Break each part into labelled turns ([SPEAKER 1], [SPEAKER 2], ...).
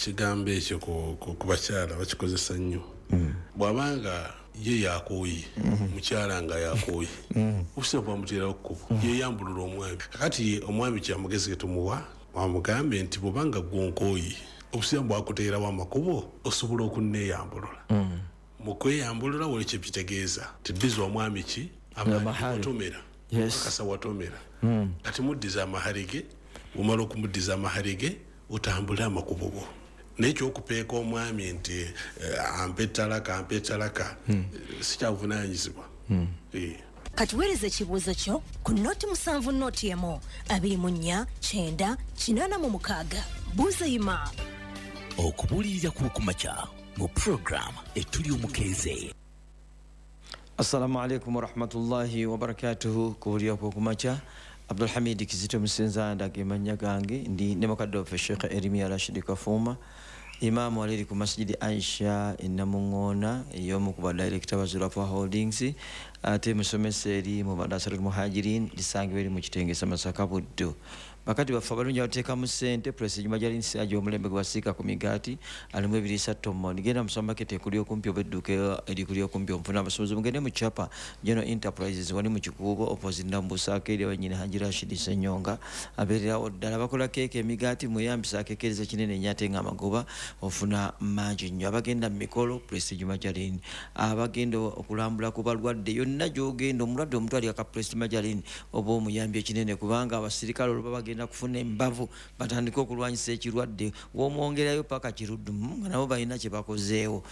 [SPEAKER 1] Ekigambo ekyo ku bakyala bakikozesa nnyo. Bw'abanga ye yakooye, mukyala nga yakooye, obusimu bwamuteerawo kkubo, yeyambulula omwami. Kakati omwami kyamugezi ketumuwa, wamugambe nti bwobanga gwonkooye, obusimu bwakuteerawo amakubo, osobola okunneeyambulula. Mu kweyambulula wali kyekitegeeza tiddiza omwami ki watomera, akasa watomera. Kati muddiza amahari ge, omala okumuddiza amahari ge otambule amakubo go. Naye ekyokupeeka omwami nti ampe talaka, ampe talaka, sikyabuvunaanyizibwa.
[SPEAKER 2] Kati weereza ekibuuzo kyo ku 07 01 24 90 86. Buuza Imam.
[SPEAKER 3] Okubuulirira kw'okumakya mu program Etuli Omukeeze.
[SPEAKER 4] Assalamu alaikum warahmatullahi wabarakatuhu. Kubuulira kw'okumakya, Abdulhamid Kizito Musenza ndage mannya gange, ndi ne mukadde waffe Sheikh Erimiya Rashid Kafuuma, imaamu aliri ku Masjidi Aisha e Namuŋŋoona, ey'omu ku badirekita ba Zurafa Holdings, ate musomesa eri mu Madrasatul Muhajirin lisangibwa eri mu Kitengesa Masaka Buddu. Bakadde baffe abalungi abateekamu ssente, Prestige Margarine aja omulembe gwe basiika ku migaati, alimu ebiriisa tomoni. Genda mu supermarket ekuli okumpi oba edduuka erikuli okumpi omufuna abasuubuzi. Mugende mu Chapa General Enterprises wali mu Kikuubo opposite Nambusaako eri abanyini Haji Rashid Ssenyonga abeererawo ddala. Bakola keeke, emigaati, mweyambisa akeekereza kinene nnyo ate ng'amagoba ofuna mangi nnyo. Abagenda mu mikolo, Prestige Margarine. Abagenda okulambula ku balwadde, yonna gy'ogenda omulwadde omutwalira ka Prestige Margarine oba omuyambi ekinene, kubanga abasirikale olwo baba bagenda kufuna embavu batandike okulwanyisa ekirwadde, w'omwongerayo paka kiruddu nga nabo balina kye bakozeewo.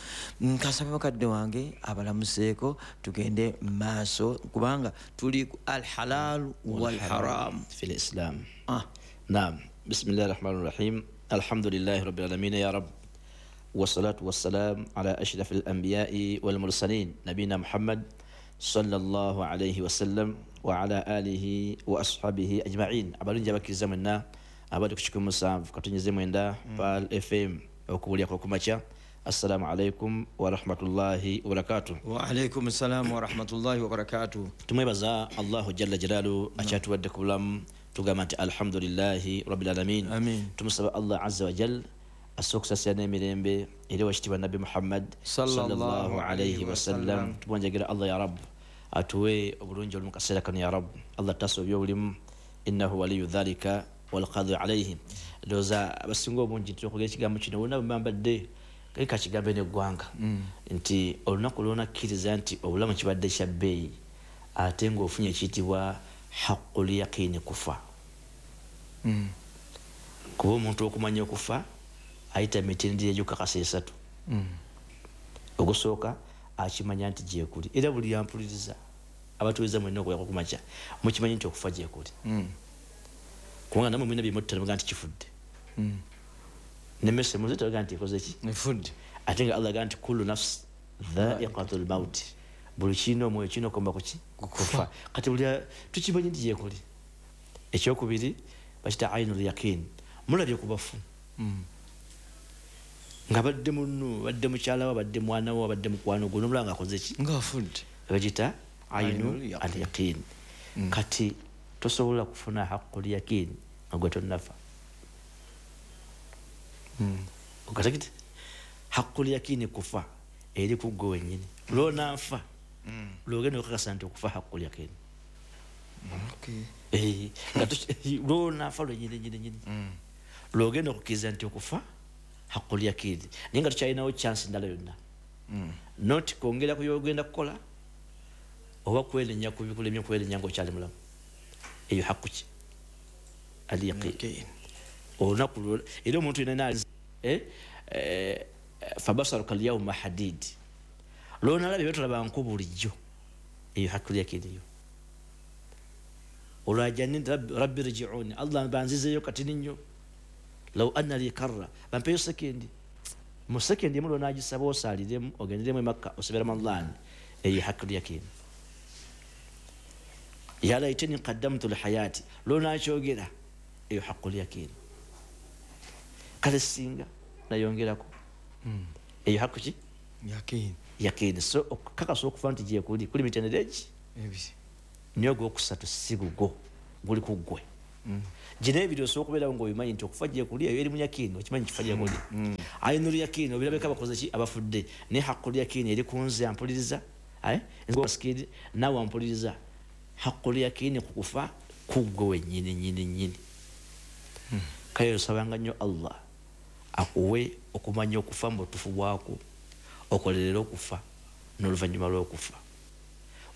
[SPEAKER 4] Nkasaba mukadde wange abalamuseeko tugende maaso, kubanga tuli ku alhalal walharam
[SPEAKER 5] fi lislam. Naam, bismillahi rahmani rahim, alhamdulillahi rabbil alamin, ya rab, wassalatu wassalam ala ashrafil anbiyai wal mursalin nabina Muhammad sallallahu alayhi wasallam wa ala alihi wa ashabihi ajma'in. Abalungi abakkiriza mwenna abali ku 107.9 Pearl FM, okubuulira kw'okumakya, assalamu alaikum wa rahmatullahi wa barakatuh.
[SPEAKER 4] Wa alaikum assalamu wa rahmatullahi wa barakatuh.
[SPEAKER 5] Tumwebaza Allahu jalla jalalu akyatuwadde ku bulamu, tugamba nti alhamdulillahi rabbil alamin. Tumusaba Allah azza wa jal asse okusasira n'emirembe eri owekitiibwa Nabbi Muhammad sallallahu alaihi wasallam. Tubonjagera Allah ya Rabb atuwe obulungi oli mu kaseera kano, ya Rabb Allah tasa obyobulimu, innahu waliyu dhalika walqadhi alaihi. Ndowooza abasinga obungi nti okwogera ekigambo kino bonna bwe mbadde kakigambe n'eggwanga nti olunaku lwonakkiriza nti obulamu kibadde kya bbeeyi ate ng'ofunye ekiyitibwa haqqul yaqini, kufa. Kuba omuntu okumanya okufa ayita mitendera egyokukakasa esatu. Ogusooka, akimanya nti gyekuli, era buli yampuliriza abatuweza mwenna okuyako kumakya mukimanyi nti okufa gyekuli, kubanga namwe mwina byemutta muga nti kifudde, nemmese muzitaga nti ekoze ki,
[SPEAKER 4] efudde,
[SPEAKER 5] ate nga Allah aga nti kullu nafsi dhaiqatu lmauti, buli kirina omwoyo kirina okomba kuki? Kufa. Kati buli tukimanyi nti gyekuli. Ekyokubiri bakita ainul yaqin, mulabye ku bafu nga badde munnu, badde mukyala we, badde mwana we, badde mukwano gwo, nomulaba nga akoze ki?
[SPEAKER 4] Ngaafudde.
[SPEAKER 5] Bagita ainu al yaqin. Kati tosobola kufuna haqqul yaqin nga gwe tonnafa. Okategete haqqul yaqin kufa eri ku gwe wennyini, lwonaafa lwogenda okakasa nti okufa haqqul yaqin. Lwonaafa lwenyini nyini nyini lwogenda okukkiriza nti okufa haqqul yaqin, naye nga tukyalinawo chance ndala yonna, not kwongera ku byogenda kukola oba kwenenya ku bikulemye kwenenya ngaokyali mulamu. Eyo haqqu ki? Al yaqin. Olunaku era omuntu yenna fabasaruka lyauma hadid, lwonalaba ebyotolaba nku bulijjo, eyo haqqul yaqin. Yo olwajani rabbi rjiuni, Allah banzizeyo katini nnyo, law anna li karra, bampeyo sekendi, mu sekendi emu lwonagisaba osaaliremu ogenderemu emakka osabira Ramadan, eyo haqqul yaqin. Ya laitani qaddamtu lihayati, lwonakyogera, eyo haqqul yaqin. Kale singa nayongerako, eyo haqqu ki?
[SPEAKER 4] Yaqin.
[SPEAKER 5] Yaqin. So okukakasa okufa nti gyekuli kuli mitendera egi
[SPEAKER 4] ebiri,
[SPEAKER 5] naye ogwokusatu si gugwo, guli ku ggwe. Gino ebiri osobola okubeerawo ng'obimanyi nti okufa gye kuli eyo eri mu yakiini, okimanyi kifa gye kuli. Ainul yakiini obirabeko abakoze ki abafudde, naye haqqul yakiini eri ku nze ampuliriza, nze naawe ampuliriza. Haqqul yakiini ku kufa kuggwe wennyini nnyini nnyini. Kale osabanga nnyo Allah akuwe okumanya okufa mu butuufu bwakwo, okolerere okufa n'oluvannyuma lw'okufa.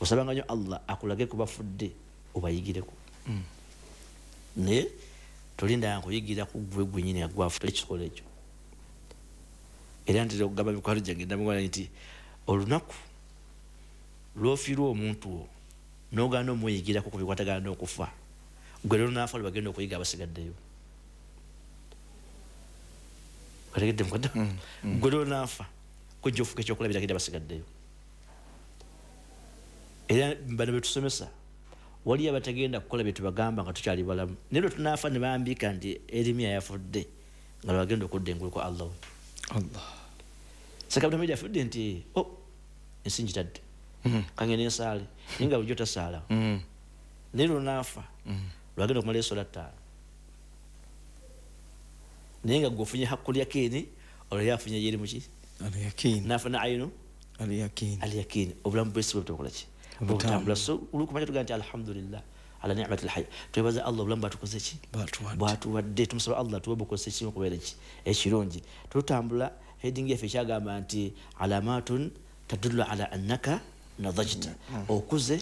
[SPEAKER 5] Osabanga nnyo Allah akulage ku bafudde obayigireko. Naye tolindanga kuyigira ku ggwe gwennyini agwafu ekikola ekyo. Era ntera okugamba mikwano gyange ndamugamba nti olunaku lw'ofiirwa omuntu wo n'ogaana omuyigirako ku bikwatagana n'okufa, gwe lwonaafa lwe bagenda okuyiga abasigaddeyo. Otegedde mukadde? Gwe lwonaafa kujja ofuuka ekyokulabirako eri abasigaddeyo. Era bano be tusomesa waliyo abatagenda kukola bye tubagamba nga tukyali balamu, naye lwe tunaafa ne bambika nti Erimiya yafudde nga lwagenda okudda engulu kwa Allah.
[SPEAKER 4] Allah.
[SPEAKER 5] Ssekabtamidi afudde nti oh, ensi ngitadde kangende nsaale, naye nga bulijjo tasaala. Naye lwonaafa lwagenda okumala essola 5, naye nga gwe ofunye haqqul yakiini, olwo ye afunye yeri muki
[SPEAKER 4] al-yakiini,
[SPEAKER 5] n'afuna ayinu
[SPEAKER 4] al-yakiini,
[SPEAKER 5] al-yakiini. Obulamu bw'ensi bwe butokola ki obutambula. So olukumanya tugamba nti alhamdulillah ala ni'matil hayy, twebaza Allah obulamu bwatukoze ki bwatuwadde. Tumusaba Allah tuwe bukozesa ekimu okubeera ki ekirungi. Tutambula heading yaffe ekyagamba nti alamatun tadullu ala annaka nadajta, okuze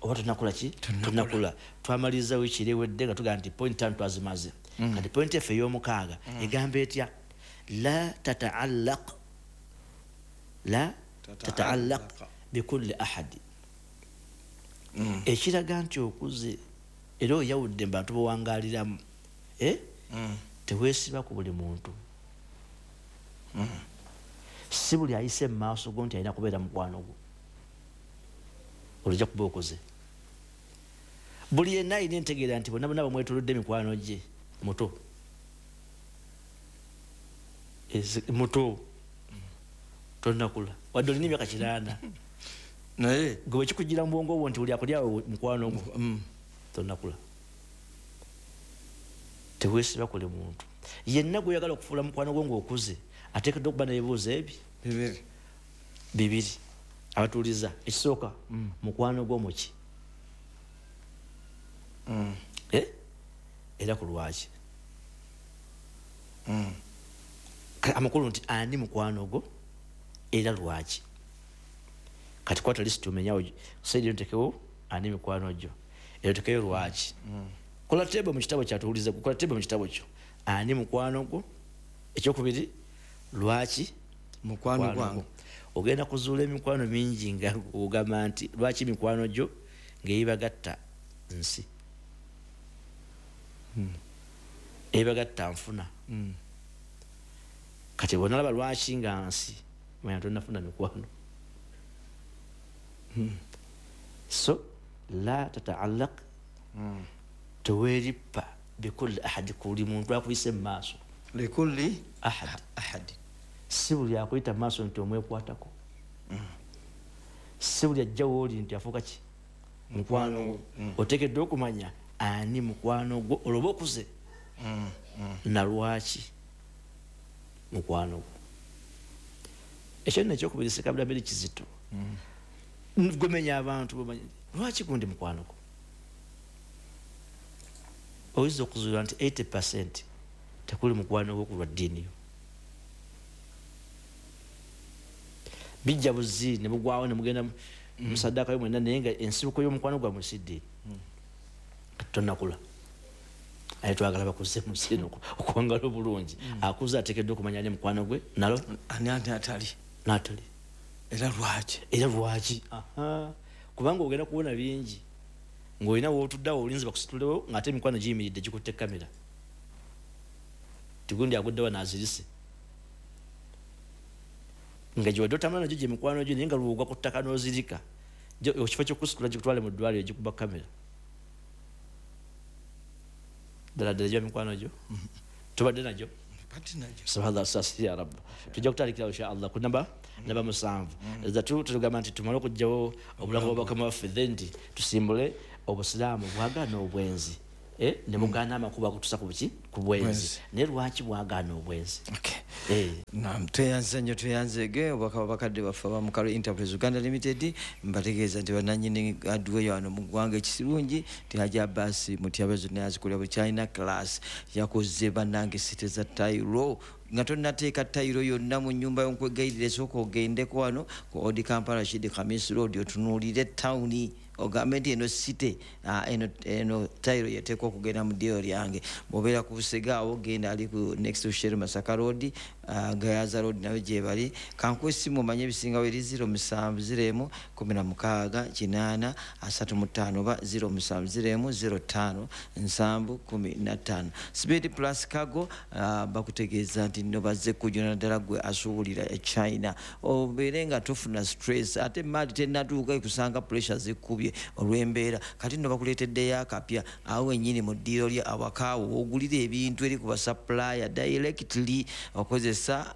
[SPEAKER 5] oba tonakula ki tonakula. Twamaliriza wiiki eri ewedde nga tugamba nti point 5 twazimaze. Kati point yaffe ey'omukaaga egamba etya? La tataallaq, la tataallaq bikulli ahadi. Ekiraga nti okuze era oyawudde mu bantu b'owangaaliramu, teweesiba ku buli muntu. Si buli ayise mu maaso go nti alina kubeera mukwano gwo, olujja kuba okuze. Buli yenna alina entegeera nti bonna bonna bamwetoolodde mikwano gye muto, muto tonnakula wadde olina emyaka 8,
[SPEAKER 4] naye
[SPEAKER 5] gwe bwe kikugira mu bwongo bwo nti buli akuli awo mukwano gwo, tonnakula. Teweesiba kuli muntu yenna gw'oyagala okufuula mukwano gwo ng'okuze, ateekeddwa okuba n'ebibuuzo ebi bibiri. Abatuuliza ekisooka, mukwano gwo muki? Era ku lwaki? Amakulu nti ani mukwano gwo era lwaki? Kati kwata lisiti omenyawo saidi ntekewo ani mikwano gyo, era otekeyo lwaki. Kola tebo mu kitabo kyatuwuliza, kola tebo mu kitabo kyo, ani mukwano gwo? Ekyokubiri, lwaki
[SPEAKER 4] mukwano gwange?
[SPEAKER 5] Ogenda kuzuula emikwano mingi nga ogamba nti lwaki mikwano gyo ng'ebagatta nsi, ebagatta nfuna. Kati bw'onalaba lwaki nga nsi, manya tonnafuna mikwano. So la tataallaq, teweerippa bikulli ahadi, kuli muntu akuyise mu maaso.
[SPEAKER 4] Likulli
[SPEAKER 5] ahad,
[SPEAKER 4] ahadi.
[SPEAKER 5] Si buli akuyita mu maaso nti omwekwatako, si buli ajja w'oli nti afuuka ki mukwano gwo. Oteekeddwa okumanya ani mukwano gwo olwo oba okuze, na lwaki mukwano gwo. Ekyo nno ekyokubiri Ssekabira kizito. Gumenya abantu bamanye lwaki gundi mukwano gwo. Oyinza okuzuula nti 80% tekuli mukwano gwo ku lwa ddiini yo. Bijja buzi ne bugwawo ne mugenda musaddaaka yo mwenna, naye nga ensibuko y'omukwano gwammwe si ddiini. Tonnakula. Aye twagala bakuze mu nsi eno okuwangala obulungi. Akuze ateekeddwa okumanya ani mukwano gwe nalo
[SPEAKER 4] ani atali
[SPEAKER 5] n'atali,
[SPEAKER 4] era lwaki,
[SPEAKER 5] era lwaki. Kubanga ogenda kubona bingi ng'olina w'otuddeawo olinze bakusitulewo ng'ate emikwano giyimiridde gikutte kamera, tigundi aguddewa n'azirise, nga gye wadde otambula nagyo gye mikwano gyo, naye nga lwogwa ku ttaka n'ozirika, ekifo ky'okusitula gikutwale mu ddwaliro gikuba kamera. Ddala ddala gya mikwano gyo tubadde nagyo. Subhanallah, sasi ya Rabb. Tujja kutandikira insha Allah ku namba 7. Zatu tugamba nti tumale okuggyawo obulango bwa bakama baffe, then nti tusimbule obusiraamu bwagaana obwenzi. Ne mugaana amakubo agutuusa ku buki? Ku bwenzi. Naye lwaki bwagaana obwenzi?
[SPEAKER 4] Naam, tweyanze nnyo, tweyanzeege obubaka bakadde baffe aba Mukalo Enterprise Uganda Limited. Mbategeeza nti bannannyini hardware wano mu ggwanga ekirungi nti Haji Abbas Mutyaba zonna yazikolera buli kyalina class yakoze bannange site za tayiro nga tonnateeka tayiro yonna mu nnyumba yo, nkwegayirira esooka ogendeko wano ku Old Kampala Rashid Khamis Road otunuulire tawuni ogambe nti eno site eno tayiro yeteekwa okugenda mu ddiiro lyange. Bw'obeera ku Busega awo genda ali ku next to Shell Masaka Road, Gayaza Road nayo gye bali. Kankuwe essimu omanye ebisingawo eri 07 01 16 8 35 oba 07 01 05 7 15. Speed Plus Cargo bakutegeeza nti nno bazze kujuna ddala gwe asuubulira e China, obeere nga tofuna stress ate maali tennatuuka ekusanga pressure zikkubye olw'embeera. Kati nno bakuleeteddeyo akapya awo wennyini mu ddiiro lye awakaawo ogulira ebintu eri ku basupplier directly, okozesa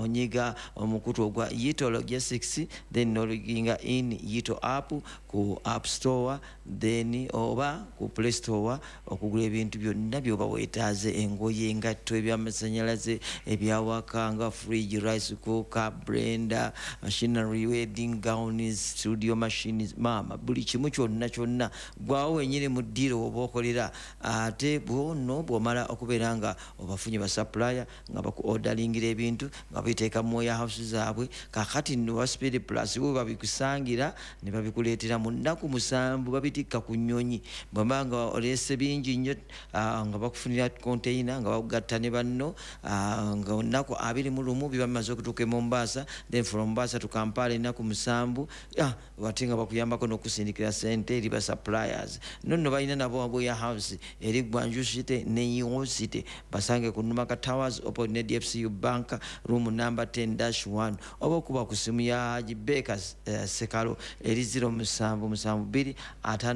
[SPEAKER 4] onyiga omukutu ogwa Yito Logistics, then nologinga in Yito app ku App Store then oba ku Play Store okugula ebintu byonna by'oba weetaaze, engoye, engatto, ebyamasannyalaze, ebyawaka nga fridge, rice cooker, blender, machinery, wedding gowns, studio machines, maama buli kimu kyonna kyonna gwawo wennyini mu ddiiro oba okolera. Ate bwono bw'omala okubeera nga obafunye basupplier nga baku orderingira ebintu nga babiteeka mu warehouse zaabwe, kaakati nno ba Speed Plus bo babikusangira ne babikuleetera mu nnaku 7, babitikka ku nnyonyi. Bw'oba nga oleese bingi nnyo nga bakufunira container nga bakugatta ne banno nga nnaku 21 biba bimaze okutuuka e Mombasa, then from Mombasa to Kampala ennaku 7, ate nga bakuyambako n'okusindikira ssente eri ba suppliers. Nno balina nabo warehouse eri Gwanju City ne Yiwo City, basange ku Numaka Towers opposite ne DFCU Bank room number 10-1 oba okuba ku ssimu ya Haji Baker Sekalo eri 0772 53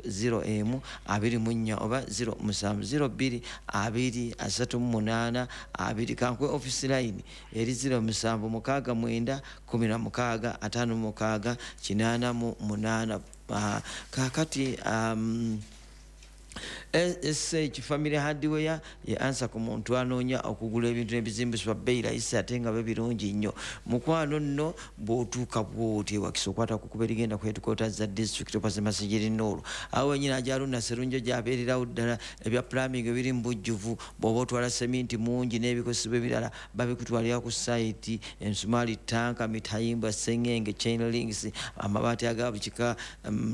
[SPEAKER 4] 01 24 oba 0702 2 38 2. Kankwe office line eri 0769 16 56 88. Kaakati SH Family Hardware ye ansa ku muntu anoonya okugula ebintu n'ebizimbisibwa bbeeyi layisi ate nga birungi nnyo. Mukwano nno bw'otuuka bw'oti Wakiso okwata ku kkubo erigenda ku headquarters za district opposite Masijiri Noor, awo wennyini Ajaruna Serunjo gy'abeererawo ddala. Ebya plumbing ebiri mu bujjuvu, bw'oba otwala seminti mungi n'ebikozesebwa ebirala babikutwalira ku site, ensumaali, tanka, mitayimbwa, sengenge, chain links, amabaati aga buli kika,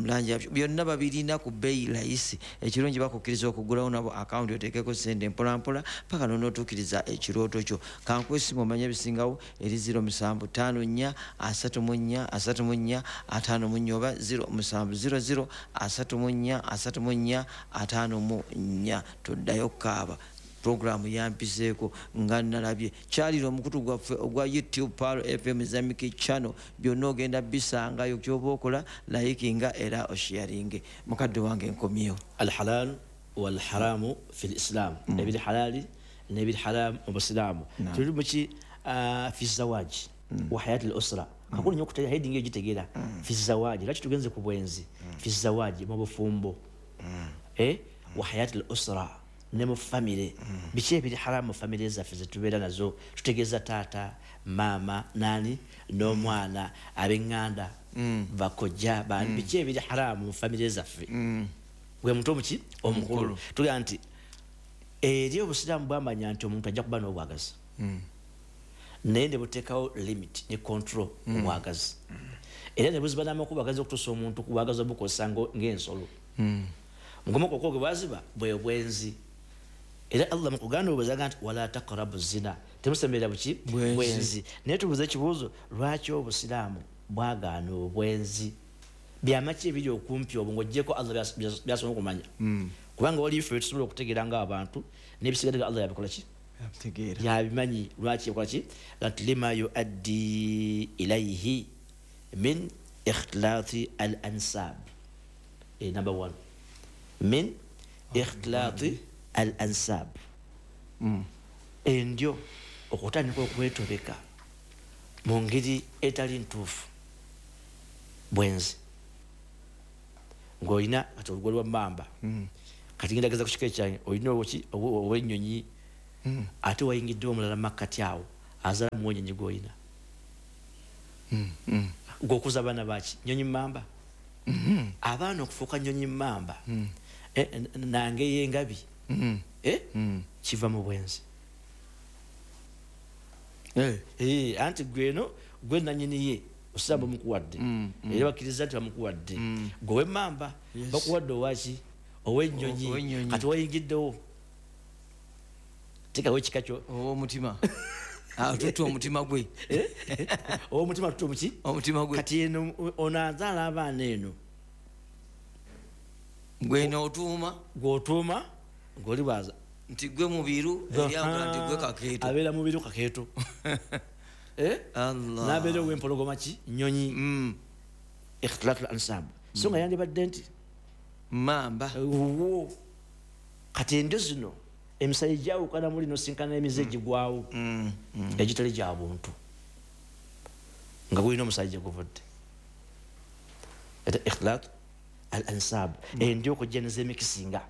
[SPEAKER 4] langi byonna babirina ku bbeeyi layisi. Ekirungi bakukkiriza okugulawo nabo akawunti oteekeko ssente mpolampola paka n'onootuukiriza ekirooto kyo. Kankuwe essimu omanye ebisingawo eri 0754 34 34 54 oba 0700 34 34 54. Toddayo kukaaba. Programu yampiseeko nga nalabye. Kyalira omukutu gwaffe ogwa YouTube Pearl FM Islamic Channel, byonna ogenda bisangayo. Ky'oba okola likinga era osharinge. Mukadde wange nkomyewo.
[SPEAKER 5] Alhalal walharamu fi lislam, ebiri halali n'ebiri haramu mu busiraamu. Tuli muki fi zawaji wa hayati al usra. Kakulu nnyo okutera heading eyo gitegeera. Fi zawaji, lwaki tugenze ku bwenzi? Fi zawaji, mu bufumbo, wa hayati al usra, ne mu famire. Biki ebiri haramu mu famire zaffe zetubeera nazo? Tutegeeza taata, maama, nani n'omwana, ab'eŋŋanda, bakojja, bani. Biki ebiri haramu mu famire zaffe? Gwe muntu omuki omukulu. Tugamba nti eri obusiraamu bwamanya nti omuntu ajja kuba n'obwagazi, naye ne buteekawo limit ne control mu bwagazi, era ne buziba n'amakubo agazi okutuusa omuntu ku bwagazi obukozesa ng'ensolo. Mugomo okwo gwe bwaziba bwe bwenzi. Era Allah mu kuganda obwenzi agamba nti wala taqrabu zina, temusemberera buki? Bwenzi. Naye tubuuze ekibuuzo, lwaki obusiraamu bwagaana obwenzi? Byama ki ebiri okumpi obwo ng'oggyeko Allah by'asobola okumanya? Kubanga waliyo ffe tusobola okutegeera ng'abantu, n'ebisigadde nga Allah yabikola ki? Yabimanyi. Lwaki yakola ki? Nti lima yuaddi ilayhi min ikhtilati al ansab. Number one, min ikhtilati al ansab, endyo okutandika okwetobeka mu ngeri etali ntuufu, bwenzi. Ng'olina kati olugwo lwa mmamba, Kati ngenda geza ku kika ekyange olina ow'ennyonyi ate wayingidde omulala makkati awo azaala mu w'ennyonyi gw'olina. Gw'okuza abaana baki? Nnyonyi mmamba. Abaana okufuuka nnyonyi mmamba nange y'engabi kiva mu bwenzi. Anti gweno gwe nannyini ye osaba bamukuwadde era bakkiriza nti bamukuwadde gwe w'emmamba bakuwadde owaki ow'ennyonyi kati wayingiddewo teekawo ekika kyo
[SPEAKER 4] ow'omutima tutte omutima gwe
[SPEAKER 5] ow'omutima tutte omuki
[SPEAKER 4] omutima gwe
[SPEAKER 5] kati eno ono azaala abaana eno
[SPEAKER 4] gweno otuuma
[SPEAKER 5] gw'otuuma ng'oli bwaza
[SPEAKER 4] nti gwe mubiru eryagala nti gwe kakeeto
[SPEAKER 5] abeera mubiru kakeeto n'abeera ow'empologoma ki nnyonyi ikhtilatu al-ansab so nga yandibadde nti
[SPEAKER 4] mamba
[SPEAKER 5] wo kati endyo zino emisayi gyawukana muli nosinkana emize egigwawo egitali gya buntu nga gulina omusayi gye guvudde eta ikhtilatu al-ansab endyo okujja nez'emikisinga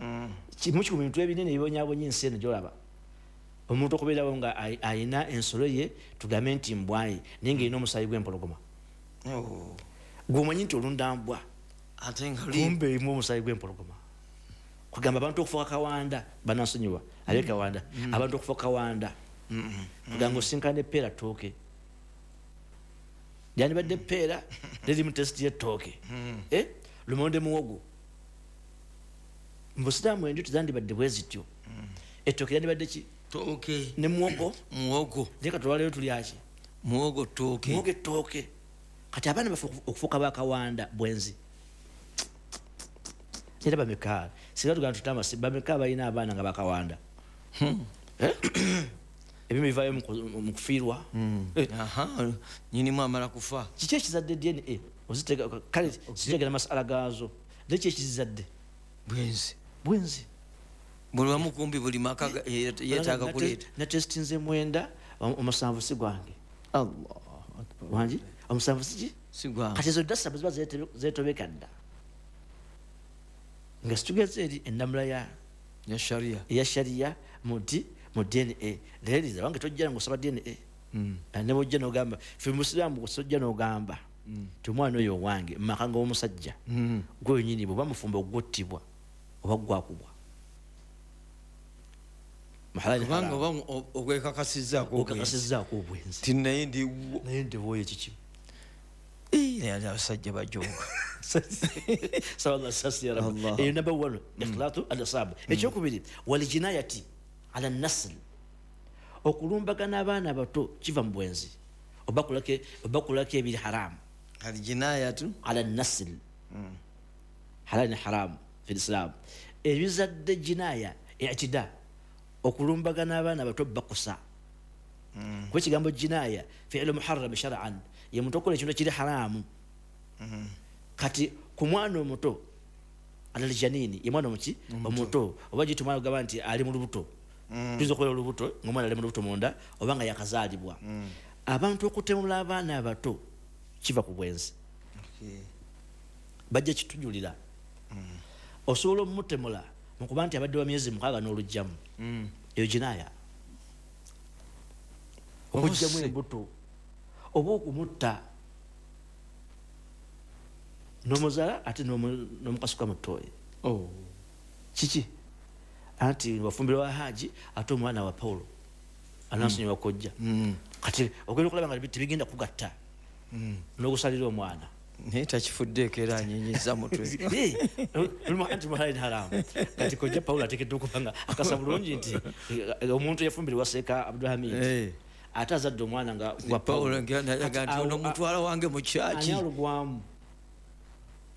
[SPEAKER 5] kimu ku bintu ebinene ebibonyaabonya ensi eno gy'olaba omuntu okubeerawo nga ayina ensolo ye tugambe nti mbwaye naye ng'erina omusaayi gw'empologoma gw'omanyi nti olunda mbwa kumbe erimu omusaayi gw'empologoma kugamba abantu okufuuka kawanda banansonyiwa abe kawanda abantu okufuuka kawanda kugamba osinkana eppeera ttooke lyandibadde eppeera lirimu tesiti y'ettooke lumonde muwogo mu busiraamu endyo tezandibadde bwe zityo ettooke lyandibadde ki
[SPEAKER 4] tooke
[SPEAKER 5] ne muwogo
[SPEAKER 4] muwogo
[SPEAKER 5] naye kati olwaleero tulyaki
[SPEAKER 4] muwogo ttooke
[SPEAKER 5] muwogo ettooke kati abaana baffe okufuuka bakawanda bwenzi era bameka singa tugamba tutamba bameka balina abaana nga bakawanda ebimu bivaayo mu kufiirwa
[SPEAKER 4] nyinimu amala kufa
[SPEAKER 5] kiki ekizadde DNA ozitega kale sitegera masala gaazo naye ki ekizadde
[SPEAKER 4] bwenzi
[SPEAKER 5] bwenzi
[SPEAKER 4] buli wamu kumbi buli maka yeetaaga kuleeta
[SPEAKER 5] natesitinze 9 omusanvu si gwange
[SPEAKER 4] Allahu akbar
[SPEAKER 5] wangi omusanvu siki
[SPEAKER 4] si gwange
[SPEAKER 5] kati ezo dasa ziba zeetobeka dda nga situgeze eri ennamula ya sharia muti mu DNA leeriza wange tojja ng'osaba DNA ne bw'ojja n'ogamba ffe musiraamu tojja n'ogamba ti omwana oyo owange mu maka g'omusajja gwe wennyini bw'oba mufumbo ogwottibwa oba gwakubwa
[SPEAKER 4] kubanga oba ogwekakasizzaako
[SPEAKER 5] obwenzi
[SPEAKER 4] ti naye ndiwo
[SPEAKER 5] naye ndiwoyo kiki
[SPEAKER 4] naye abasajja bajooga
[SPEAKER 5] eyo namba 1 ikhtilatu al-asab ekyokubiri waljinayati ala nasl okulumbagana abaana abato kiva mu bwenzi oba kulako ebiri haramu
[SPEAKER 4] aljinayatu
[SPEAKER 5] ala nasl halal ne haramu fi lislam ebizadde jinaya i'tida okulumbagana abaana abato bakusa kuba ekigambo jinaya fi'lu muharram shar'an ye muntu okola ekintu ekiri haramu kati ku mwana omuto alaljanini ye mwana omuki omuto oba giti omwana ogamba nti ali mu lubuto tuyinza okubeera olubuto ng'omwana ali mu lubuto munda oba nga yakazaalibwa abantu okutemula abaana abato kiva ku bwenzi bajja kitujulira osobola omutemula mukuba nti abadde wa myezi 6 n'olugjamu eyo jinaya okugjamu embuto oba okumutta n'omuzaala ate n'omukasuka mu ttooyi kiki anti wafumbirwa wa haji ate omwana wa Paulo anansonyiwa kojja kati ogenda okulaba nga tebigenda kugatta n'okusalira omwana
[SPEAKER 4] naye takifuddeeko era anyenyiza mutwe
[SPEAKER 5] anti muhalali haramu kati kojja Paulo ateekeddwa okuba nga akasa bulungi nti omuntu yafumbirwa Seeka Abdulhamid ate azadde omwana nga
[SPEAKER 4] wa Paulo nti ono mutwala wange mu kyaki
[SPEAKER 5] ani alugwamu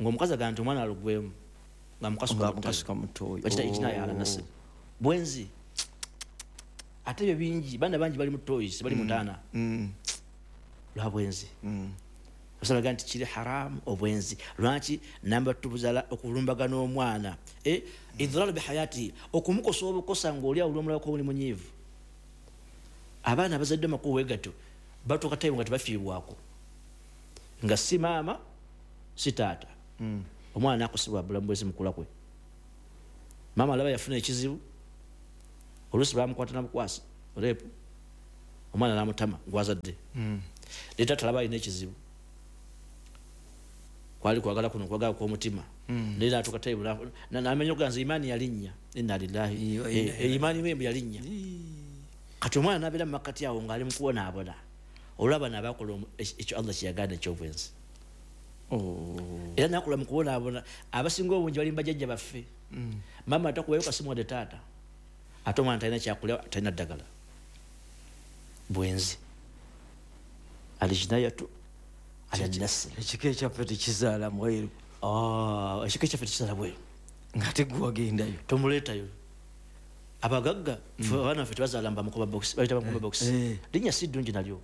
[SPEAKER 5] ng'omukazi agamba nti omwana alugwemu nga mukasuka
[SPEAKER 4] mu ttooyi
[SPEAKER 5] bakita ijtinaya ala nasl bwenzi ate ebyo bingi baana bangi bali mu ttooyi bali mu ntaana lwa bwenzi osalaga nti kiri haramu obwenzi lwaki namba tubuzala okulumbagana omwana idraru bihayati okumukosa obukosa ng'oli awo olwomulabako oli munyiivu abaana abazadde amakubo wegatyo batuuka tayimu nga tebafiibwako nga si maama si taata omwana akosebwa bulamu bwezi mukula kwe Maama alaba yafuna ekizibu, oluusi bamukwata nabukwasa rape, omwana namutama gwazadde. Ne taata alaba alina ekizibu, kwali kwagala kuno kwagala kw'omutima. Naye n'atuuka time n'amenya okuganza imaani yalinnya, inna lillahi, imaani wembu yalinnya. Kati omwana n'abeera mu makkati awo ng'ali mu kubonaabona, olw'abaana abakola ekyo Allah kye yagaana eky'obwenzi. Era n'akola mu kubonaabona, abasinga obungi bali mu bajjajja baffe. Maama atakubayo kasimu wadde taata, ate omwana talina kyakulya, talina ddagala. Bwenzi. Alijinayatu ala nasl.
[SPEAKER 4] Ekika ekyaffe tekizaala mweru.
[SPEAKER 5] Ekika ekyaffe tekizaala bweru.
[SPEAKER 4] Ng'ate gwe wagendayo.
[SPEAKER 5] Tomuleetayo. Abagagga, abaana baffe tebazaala mba mukomba box, bayita mukomba box. Linnya si ddungi nalyo.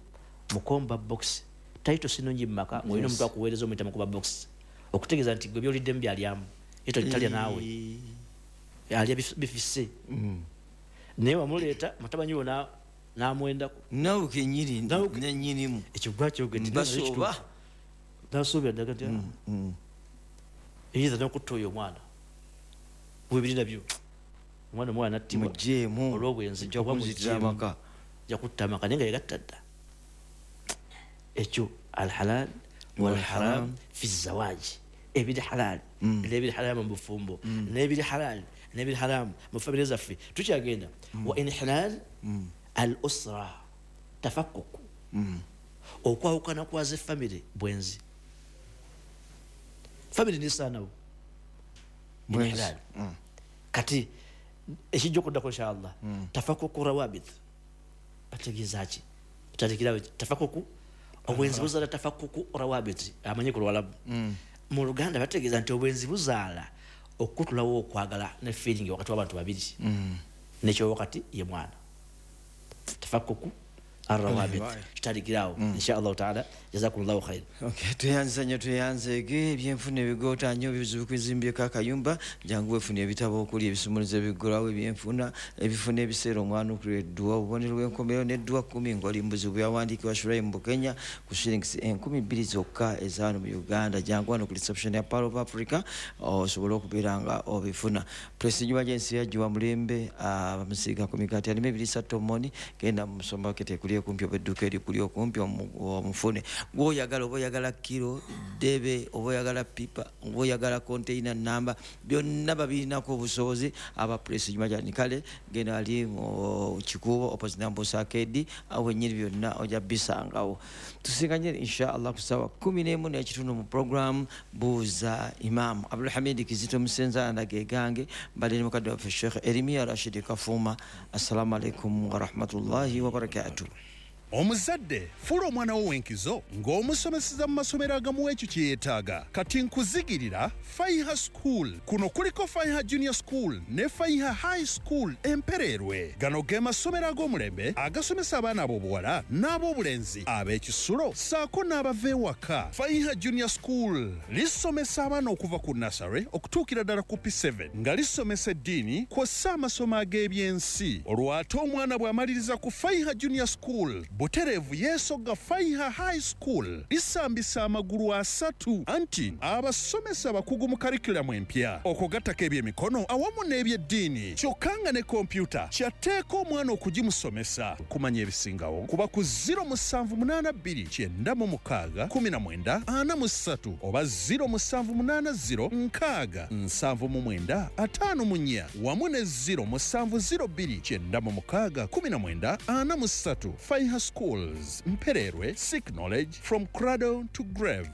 [SPEAKER 5] Mukomba box. Title si nnungi mu maka, ng'olina omuntu akuweereza omuyita mukomba box. Okutegeeza nti gwe by'oliddemu by'alyamu. Ye talya naawe. Alya bifisse. Naye wamuleeta mutabani wo n'amwendako.
[SPEAKER 4] Naawe kennyini nennyinimu.
[SPEAKER 5] Ekyo gwakyogedde.
[SPEAKER 4] Mbasooba.
[SPEAKER 5] Nasuubira ddala nti, eyinza n'okutta oyo omwana. Bwe biri nabyo. Omwana omwana n'attibwa.
[SPEAKER 4] Mugyeemu.
[SPEAKER 5] Olw'obwenzi.
[SPEAKER 4] Ojja kunzitira amaka.
[SPEAKER 5] Ojja kutta amaka naye nga yegatta dda. Ekyo alhalal walharam fi zawaji. Ebiri halal n'ebiri haramu mu bufumbo, n'ebiri halal n'ebiri haramu mu famire zaffe. Tukyagenda. Wa inhilal al usra tafakkuku. Okwawukana kwa ze famire bwenzi. Famire nisaanawo. Inhilal. Kati ekijja okuddako inshallah. Tafakkuku rawabit. Bategeeza ki? Tutandikirawo tafakkuku. Obwenzi buzaala tafakkuku rawabit. Amanyi ku Luwalabu. Mu Luganda bategeeza nti obwenzi buzaala okutulawo okwagala ne feeling wakati w'abantu babiri. Nekyo wakati ye mwana. Tafakkuku arrawabit. Tutandikirawo inshallah taala. Jazakumullahu khair.
[SPEAKER 4] Okay, tweyanza nnyo, tweyanzeege. Ebyenfuna ebigoota nnyo bizibu kuzimbyeko akayumba. Jangu weefune ebitabo okuli ebisumuluzo ebiggulawo ebyenfuna, ebifuna ebiseera omwana okulya edduwa, obubonero bw'enkomerero n'edduwa 10 ng'oli mu buzibu. Byawandiikibwa Shuraim Bukenya ku shillings 2000 zokka eza wano mu Uganda. Jangu wano ku reception ya Pearl of Africa osobole okubeera nga obifuna. Prestige Emergency yajjiwa mulembe, bamusiiga ku migaati alimu ebiriisa tomoni. Genda mu supermarket ekuli okumpi oba edduuka erikuli okumpi omufune. Gw'oyagala, oba oyagala kiro, ddebe, oba oyagala pipa, oba oyagala container namba, byonna babirinako obusobozi aba Prestige Emergency. Kale genda ali mu Kikuubo opposite Nambosa Arcade, awo wennyini byonna ojja bisangawo. Tusinganye inshallah ku ssaawa 11:15 mu program Buuza Imam. Abdulhamid Kizito Musenza ndage gange, mbadde ne mukadde waffe Sheikh Eremia Rashid Kafuuma. Assalamu alaikum wa rahmatullahi wa barakatuh.
[SPEAKER 6] Omuzadde fuula omwana wo w'enkizo ng'omusomeseza mu masomero agamuwa ekyo kye yeetaaga. Kati nkuzigirira Faiha School. Kuno kuliko Faiha Junior School ne Faiha High School Empereerwe. Gano ge masomero ag'omulembe agasomesa abaana ab'obuwala n'ab'obulenzi ab'ekisulo ssaako n'abava ewaka. Faiha Junior School lisomesa abaana okuva ku nursery okutuukira ddala ku P7 nga lisomesa eddiini kw'ossa amasomo ag'ebyensi. Olwo ate omwana bw'amaliriza ku Faiha Junior School butereevu yeesogga Faiha High School lisambisa amagulu 3 anti abasomesa abakugu mu curriculum empya okugattako ebyemikono awamu n'ebyeddiini, kyokka nga ne kompyuta kyatteeka omwana okugimusomesa. Kumanya ebisingawo kuba ku 0782 96 19 43 oba 0780 6 79 54 wamu ne 0702 96 19 43. Faiha Schools, Mpererwe, seek knowledge from cradle to grave.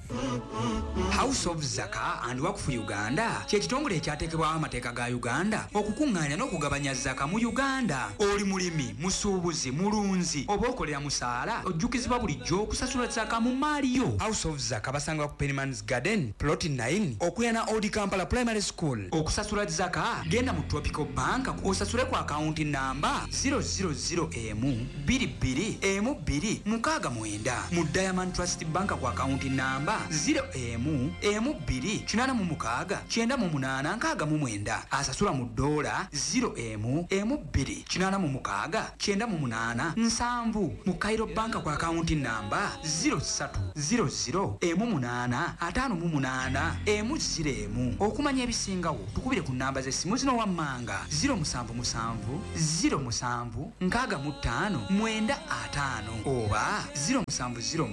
[SPEAKER 7] House of Zaka and Wakfu Uganda kye kitongole ekyateekebwawo amateeka ga Uganda okukuŋŋaanya n'okugabanya zaka mu Uganda. Oli mulimi, musuubuzi, mulunzi oba okolera musaala, ojjukizibwa bulijjo okusasula zaka mu maali yo. House of Zaka basangibwa ku Pennyman's Garden plot 9 okuliraana Old Kampala Primary School. Okusasula zaka genda mu Tropical Bank osasule ku akawunti namba 000 M 22 M emu 2 6 9 mu Diamond Trust Bank ku akawunti namba 0 1 1 2 86 98 69. Asasula mu dola 0 1 1 2 86 98 7 mu Cairo Bank ku akawunti namba 03 00 18 58 1 01. Okumanya ebisingawo tukubire ku namba z'essimu zino wammanga 077 07 65 95 oba 0706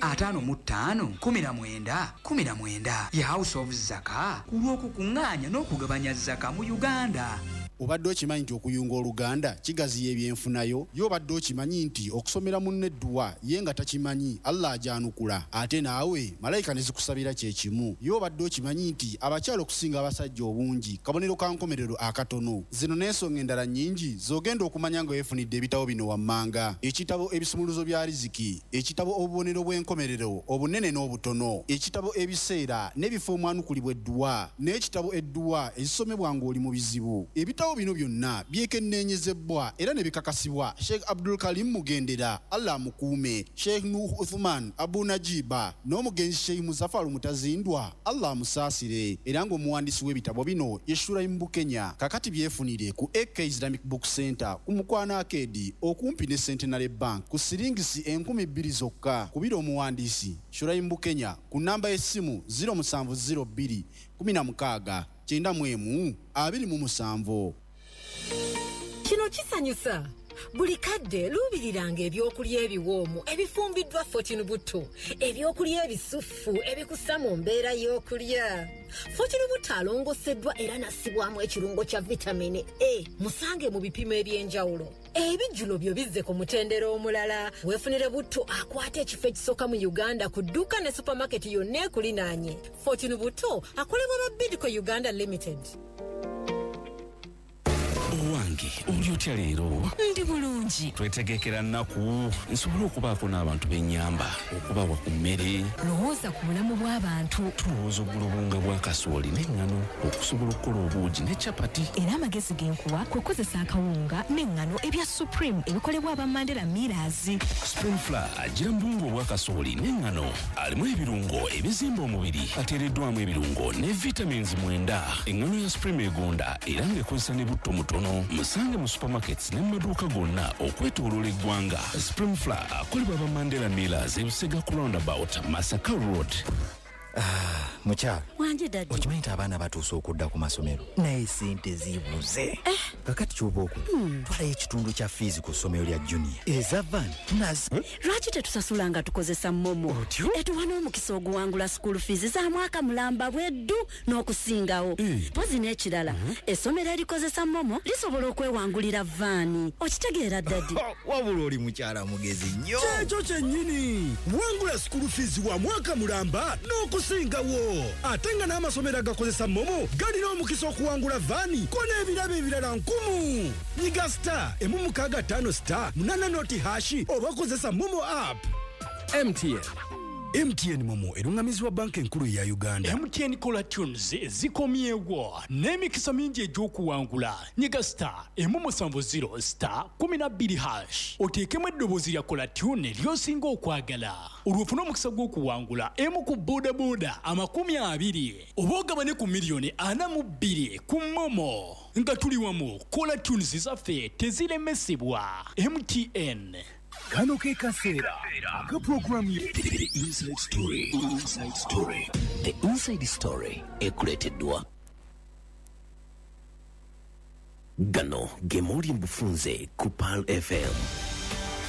[SPEAKER 7] 55 19 19. Ye House of Zaka ku lw'okukuŋŋaanya n'okugabanya zaka mu Uganda.
[SPEAKER 8] Obadde okimanyi nti okuyunga oluganda kigaziya ebyenfunayo? Ye obadde okimanyi nti okusomera munne edduwa ye nga takimanyi Allah ajanukula, ate naawe malayika ne zikusabira kyekimu? Ye obadde okimanyi nti abakyala okusinga abasajja obungi kabonero ka nkomerero akatono? Zino n'ensonga endala nnyingi z'ogenda okumanya nga weefunidde ebitabo bino wammanga: ekitabo Ebisumuluzo bya Riziki, ekitabo Obubonero bw'enkomerero obunene n'obutono, ekitabo Ebiseera n'ebifo omwanukulibwa edduwa, n'ekitabo Edduwa ezisomebwa ng'oli mu bizibu. Ebitabo bino byonna byekenneenyezebwa era ne bikakasibwa Sheikh Abdul Karim Mugendera, Allah amukuume, Sheikh Nuh Uthman Abu Najiba n'omugenzi Sheikh Muzafaru Mutazindwa, Allah amusaasire, era ng'omuwandiisi w'ebitabo bino ye Shuraim Bukenya. Kakati byefunire ku AK Islamic Book Center ku Mukwano Arcade okumpi ne Centenary Bank ku siringisi 2000 zokka. Kubira omuwandiisi Shuraim Bukenya ku namba y'essimu 0702 16 91 27.
[SPEAKER 9] Kino kisanyusa. Buli kadde luubiriranga ebyokulya ebiwoomu ebifumbiddwa Fortune Butto, ebyokulya ebisufu ebikussa mu mbeera y'okulya. Fortune Butto alongoseddwa era nassibwamu ekirungo kya vitamini A. Musange mu bipimo eby'enjawulo. Ebijjulo byo bizze ku mutendera omulala. Weefunire butto akwata ekifo ekisooka mu Uganda ku dduuka ne supamaketi yonna ekulinaanye. Fortune Butto akolebwa ba Bidco Uganda Limited.
[SPEAKER 10] Owange, oli otya leero?
[SPEAKER 2] Ndi bulungi.
[SPEAKER 10] Twetegekera nnaku nsobole okubaako n'abantu b'ennyamba, okubawa ku mmere.
[SPEAKER 2] Lowooza ku bulamu bw'abantu.
[SPEAKER 10] Tulowooza ogula obuwunga bwa kasooli n'eŋŋano okusobola okukola obuugi ne capati.
[SPEAKER 2] Era amagezi ge nkuwa kwe kukozesa akawunga n'eŋŋano ebya Supreme ebikolebwa aba Mandela Millers.
[SPEAKER 10] Supreme Flour agira mu buwunga obwa kasooli n'eŋŋano, alimu ebirungo ebizimba omubiri, ateereddwamu ebirungo ne vitamins 9. Eŋŋano ya Supreme egonda era ng'ekozesa ne butto mutono. Musange mu supermarkets ne mu maduuka gonna okwetooloola eggwanga. Supreme Flour akolebwa aba Mandela Millers, Ebusega ku roundabout, Masaka Road.
[SPEAKER 11] Mukyala.
[SPEAKER 12] Wanje daddy.
[SPEAKER 11] Okimanyi nti abaana batuuse okudda ku masomero, naye sente zibuze. Kakati kyoba okola, twalayo ekitundu kya fiizi ku ssomero lya junior, eza van tunazi.
[SPEAKER 12] Lwaki tetusasula nga tukozesa MoMo? Etuwa n'omukisa oguwangula school fees za mwaka mulamba bweddu n'okusingawo. Pozi n'ekirala, essomero erikozesa MoMo lisobola okwewangulira vaani. Okitegeera daddy?
[SPEAKER 11] Wabula oli mukyala mugezi nnyo.
[SPEAKER 13] Kyekyo kyennyini, wangula school fees wa mwaka mulamba n'okusingawo, ate nga n'amasomero agakozesa MoMo galina omukisa okuwangula vaani ko n'ebirabo ebirala 1000. Nyiga star 165 star 8 noti hash oba kozesa MoMo app.
[SPEAKER 14] MTN.
[SPEAKER 13] MTN MoMo erungamizibwa banka enkulu ya Uganda.
[SPEAKER 15] MTN Caller Tunes zikomyewo n'emikisa mingi egy'okuwangula. Nyiga star 170 star 12 hash oteekemu eddoboozi lya Caller Tune ly'osinga okwagala, olwo ofune omukisa gw'okuwangula emu ku bodaboda 20 oba ogabane ku miliyoni 42 ku MoMo. Nga tuli wamu, Caller Tunes zaffe teziremesebwa. MTN.
[SPEAKER 13] Kano ke kaseera aka programu
[SPEAKER 3] The Inside Story. Inside Story. The Inside Story ekuleeteddwa gano ge mawulire mu bufunze ku Pearl FM.